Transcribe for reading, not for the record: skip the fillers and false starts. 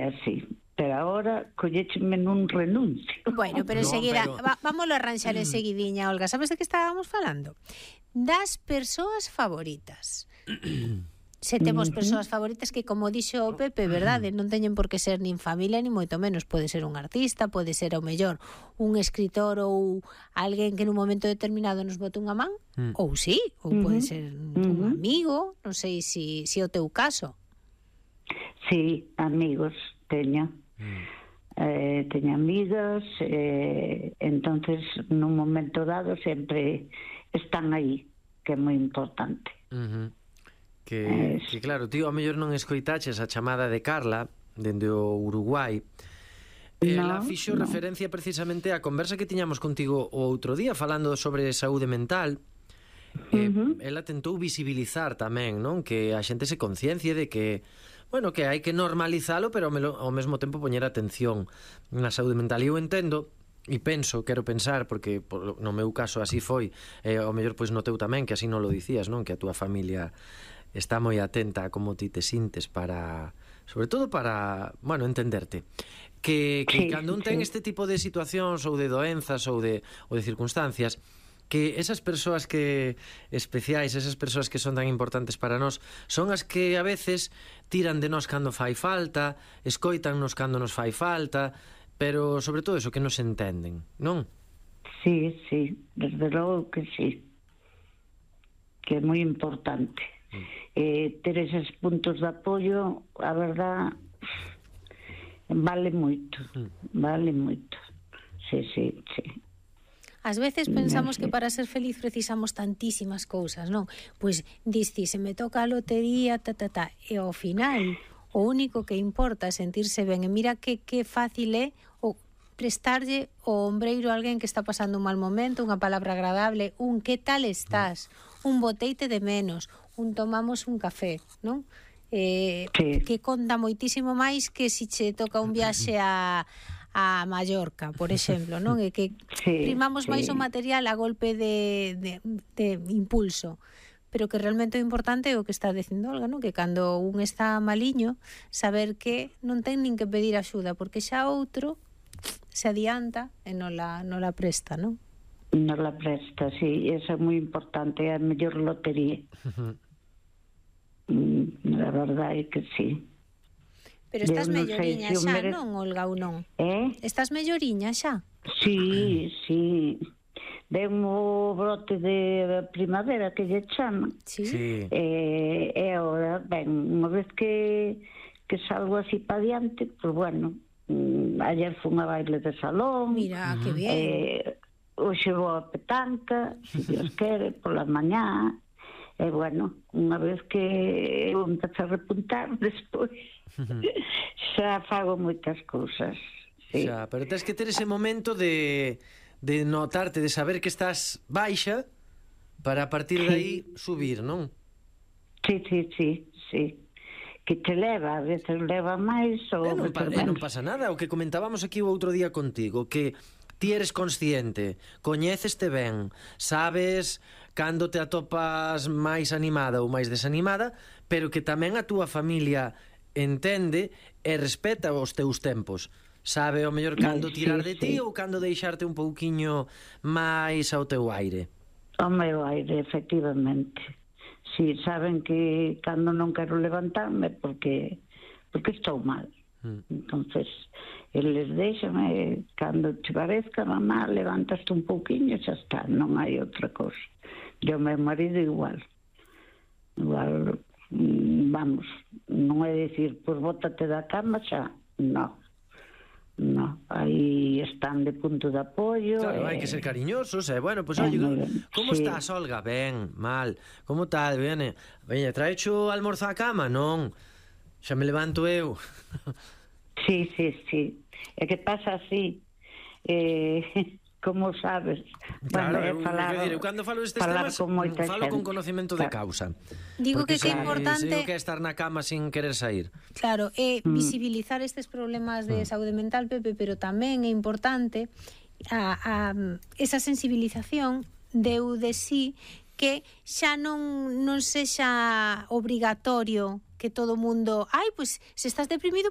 así. Pero agora collécheme nun renuncio. Bueno, pero enseguida, vámoslo a arranxar enseguidiña, Olga. Sabes de que estábamos falando? Das persoas favoritas. Se temos persoas favoritas que, como dixo o Pepe, verdade, non teñen por que ser nin familia, nin moito menos. Pode ser un artista, pode ser, ao mellor, un escritor ou alguén que nun momento determinado nos bote unha man, ou sí, ou pode ser un amigo, non sei se o teu caso. Sí, amigos teño. Teño amigas, entonces nun momento dado sempre están aí, que é moi importante. Que claro, tío, a mellor non escoitaches a chamada de Carla dende o Uruguai. Ela fixo referencia precisamente á conversa que tiñamos contigo o outro día falando sobre saúde mental. Ela tentou visibilizar tamén, non? Que a xente se conciencie de que, bueno, que hai que normalizalo, pero ao mesmo tempo poñer atención na saúde mental. E eu entendo e penso, quero pensar, porque no meu caso así foi, ao mellor pois no teu tamén, que así non lo dicías, non? Que a túa familia está moi atenta a como ti te sintes para, sobre todo para, bueno, entenderte. Que cando un ten este tipo de situacións ou de doenzas ou de circunstancias, que esas persoas que especiais, esas persoas que son tan importantes para nós, son as que a veces tiran de nós cando fai falta, escoítannos cando nos fai falta, pero sobre todo eso, que nos entenden, non? Sí, desde logo que sí, que é moi importante. Ter eses puntos de apoio, a verdad, vale moito, sí. Ás veces pensamos que para ser feliz precisamos tantísimas cousas, non? Pois diste, se me toca a lotería, e ao final o único que importa é sentirse ben. E mira que fácil é o prestarlle o ombreiro a alguén que está pasando un mal momento, unha palabra agradable, un que tal estás, un boteite de menos, un tomamos un café, non? Que conta moitísimo máis que se che toca un viaxe a Mallorca, por exemplo, non? E que primamos máis o material a golpe de impulso, pero que realmente o importante é o que está dicindo Olga, non? Que cando un está maliño, saber que non ten nin que pedir axuda, porque xa outro se adianta e non la presta, non? Non la presta, sí, eso é moi importante, é a mellor lotería. La verdade é que sí. Pero estás melloriña xa, non, Olga, ou non? Estás melloriña xa? Sí. Ven o brote de primavera que lle chaman. Sí. E agora, ben, unha vez que salgo así pa diante, pues bueno, ayer fun a baile de salón. Mira, que bien. Hoxe vou a petanca, se Dios quere, pola mañá. E bueno, unha vez que eu empezo a repuntar, despois xa fago moitas cousas. Sí. Xa, pero tens que ter ese momento de notarte, de saber que estás baixa para a partir de aí subir, non? Sí. Que te leva, a veces leva máis ou non pasa nada, o que comentábamos aquí o outro día contigo, que ti eres consciente, coñéceste ben, sabes cando te atopas máis animada ou máis desanimada, pero que tamén a túa familia entende e respeta os teus tempos. Sabe o mellor cando tirar de ti ou cando deixarte un pouquiño máis ao teu aire. Ao meu aire, efectivamente. Si, saben que cando non quero levantarme porque estou mal. Entonces, eles deixame, cando te parezca, mamá, levantaste un pouquiño e xa está, non hai outra cosa. E o meu marido igual, vamos, non é dicir, pois bótate da cama xa, non, aí están de punto de apoio. Claro, hai que ser cariñosos, bueno, pois oye, como estás, Olga? Ben, mal, como tal, veña, traecho almorzo á cama? Non, xa me levanto eu. Sí, é que pasa así, como sabes. Claro, eu cando falo destes temas falo con conocimento de causa. Digo que é importante, sei o que é estar na cama sin querer sair. Claro, é visibilizar estes problemas de saúde mental, Pepe, pero tamén é importante esa sensibilización de sí, que xa non sexa obrigatorio que todo o mundo, pois se estás deprimido,